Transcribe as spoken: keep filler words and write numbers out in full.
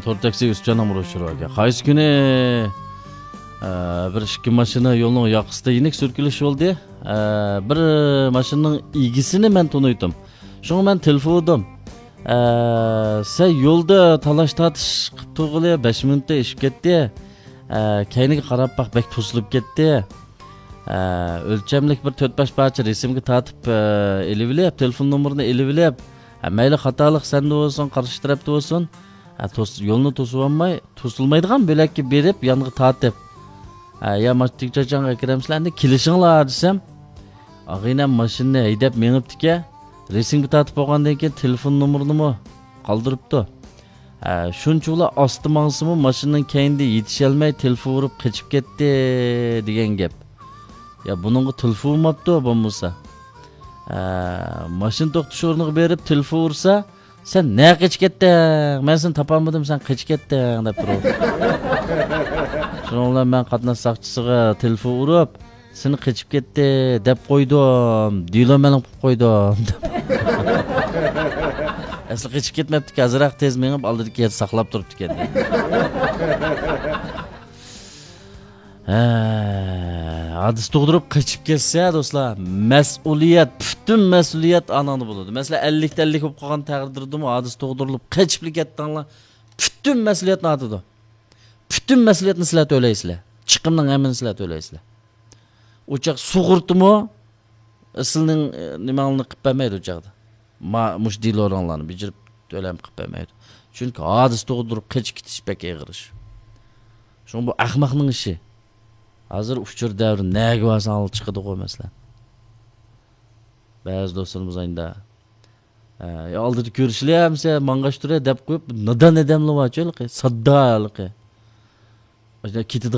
تور تاكسى ئۆسۈپجاننىڭ بىر ئۇچۇرى باركەن. قايسى كۈنى، ئە، بىر ئىككى ماشىنا يولنىڭ ياقىسىدا يېنىك سۈركىلىش بولدى. ئە، بىر ماشىنىنىڭ ئىگىسىنى مەن تونۇيتتۇم. شۇڭا مەن تېلېفون ئۇردۇم. ئە، سەن يولدا تالاش تارتىش قىلىپ تۇرغىلى بەش مىنۇتتا ئېشىپ كەتتى. ئە، كەينىگە قاراپ باق، بەك توسۇلۇپ كەتتى. ئە، ئۆلچەملىك بىر تۆت بەش پارچە رەسىمگە تارتىپ، ئە، ئېلىۋېلىپ، تېلېفون نومۇرىنى ئېلىۋېلىپ، ئە، مەيلى خاتالىق سەندە بولسۇن، قارشى تەرەپتە بولسۇن، ئە، توس-، يولنى توسۇۋالماي، توسۇلمايدىغان بۆلەككە بېرىپ، يانغا تارتىپ، ئە، يا ماشىنا تىكچاچاڭغا كىرەمسىلەر، ئەمدى كېلىشىڭلار دېسەم، ئاغىنەم ماشىنىنى ھەيدەپ مېڭىپتىكەن. رەسىمگە تارتىپ بولغاندىن كېيىن تېلېفون نومۇرىنىمۇ قالدۇرۇپتۇ. ھە، شۇنچىۋالا ئاستا ماڭسىمۇ ماشىنىنىڭ كەينىدە يېتىشەلمەي تېلېفون ئۇرۇپ قېچىپ كەتتى دېگەن گەپ. يا بۇنىڭغا تېلېفون ئۇرماپتۇ بولمىسا. ھە، ماشىنا توختىتىش ئورنىغا بېرىپ تېلېفون ئۇرسا، سەن نەگە قېچىپ كەتتىڭ؟ مەن سېنى تاپالمىدىم، سەن قېچىپ كەتتىڭ دەپ تۇرۇۋاتىدۇ. شۇنىڭ بىلەن مەن قاتناش ساقچىسىغا تېلېفون ئۇرۇپ، سېنى قېچىپ كەتتى دەپ قويدۇم، دېلو مەلۇم قىلىپ قويدۇم دەپ. ئەسلى قېچىپ كەتمەپتىكەن، ئازراق تېز مېڭىپ ئالدىدىكى يەردە ساقلاپ تۇرۇپتىكەن. ھە، ھادىسە تۇغدۇرۇپ قېچىپ كەتسە دوستلار، مەسئۇلىيەت، پۈتۈن مەسئۇلىيەت ئاناڭدا بولىدۇ. مەسىلەن، ئەللىكتە ئەللىك بولۇپ قالغان تەقدىردىمۇ ھادىسە تۇغدۇرۇلۇپ قېچىپلا كەتتىڭلار، پۈتۈن مەسئۇلىيەتنى ئارتىدۇ. پۈتۈن مەسئۇلىيەتنى سىلەر تۆلەيسىلەر. چىقىمنىڭ ھەممىنى سىلەر تۆلەيسىلەر. ئۇ چاغ سۇغۇرتىمۇ سىلىنىڭ، ئە، نېمەڭلارنى قىلىپ بەرمەيدۇ ئۇ چاغدا. ما-، مۇشۇ دېلوراڭلارنى بېجىرىپ تۆلەم قىلىپ بەرمەيدۇ. چۈنكى ھادىسە تۇغدۇرۇپ قېچىپ كېتىش بەك ئېغىر ئىش. شۇڭا بۇ ئەخمەقنىڭ ئىشى. ھازىر ئۇچۇر دەۋرى نەگە بارساڭ چىقىدىغۇ مەسىلەن. بەزى دوستلىرىمىز ئاينىدا، ئە، يا ئالدىدا كۆرۈشىلى ئەمسە ماڭغاچ تۇرە دەپ قويۇپ، نادان ئادەملەر بارچۇ ھېلىقى، ساددا ھېلىقى. كېتىدىغان